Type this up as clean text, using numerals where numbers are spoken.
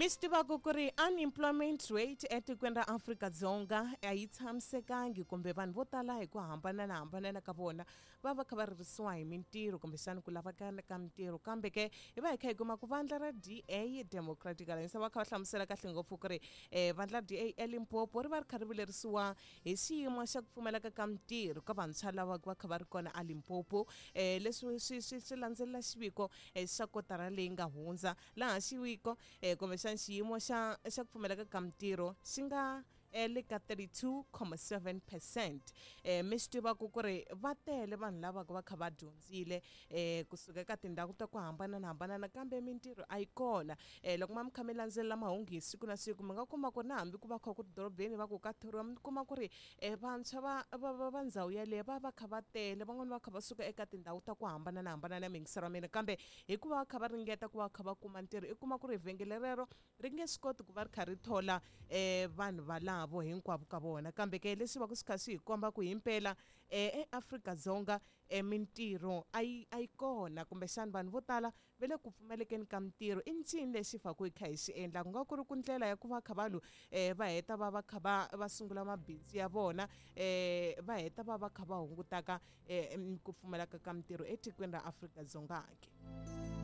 Mi swi tivaka ku ri unemployment rate etikweni ra Afrika-Dzonga a yi tshamisekangi kumbe vanhu vo tala hi ku hambananahambanana ka vona va va kha va ririsiwa hi mintirho kumbexana ku lava ka ka mintirho. Kambe ke hi va hi kha hi kuma ku vandla ra DA, Democratic Alliance, va kha va hlamusela kahle ngopfu ku ri vandla ra DA eLimpopo ri va ri kha ri vilerisiwa hi xiyimo xa ku pfumaleka ka mintirho ka vantshwa lava va kha va ri kona eLimpopo. Leswi swi swi swi landzelela xiviko xa kotara leyi nga hundza laha xiviko kumbexana xiyimo xa xa ku pfumaleka ka mintirho xi nga le ka 32.7 percent. Mi swi tivaka ku ri va tele vanhu lava va kha va dyondzile kusuka eka tindhawu ta ku hambananahambanana kambe mintirho a yi kona. Loko ma mi kha mi landzelela mahungu hi siku na siku mi nga kuma ku ri na hambi ku va kha ku ri dorobeni va ku ka thoriwa mi kuma ku ri vantshwa va va va va ndhawu yeleyo va va kha va tele, van'wani va kha va suka eka tindhawu ta ku hambananahambanana miyingiselo wa mina, kambe hikuva va kha va ringeta ku va kha va kuma ntirho i kuma ku ri vhengele rero ri nge swi koti ku va ri kha ri thola vanhu valavo hinkwavo ka vona. Kambe ke leswi va ku swi kha swi hi komba ku himpela eAfrika-Dzonga mintirho a yi a yi kona kumbexana vanhu vo tala va le ku pfumalekeni ka mintirho. I ncini lexi hi faneleke hi kha hi xi endla? Ku nga ku ri ku ndlela ya ku va kha vanhu va heta va va kha va va sungula mabindzu ya vona, va heta va va kha va hungutaka ku pfumaleka ka mintirho etikweni ra Afrika-Dzonga ke?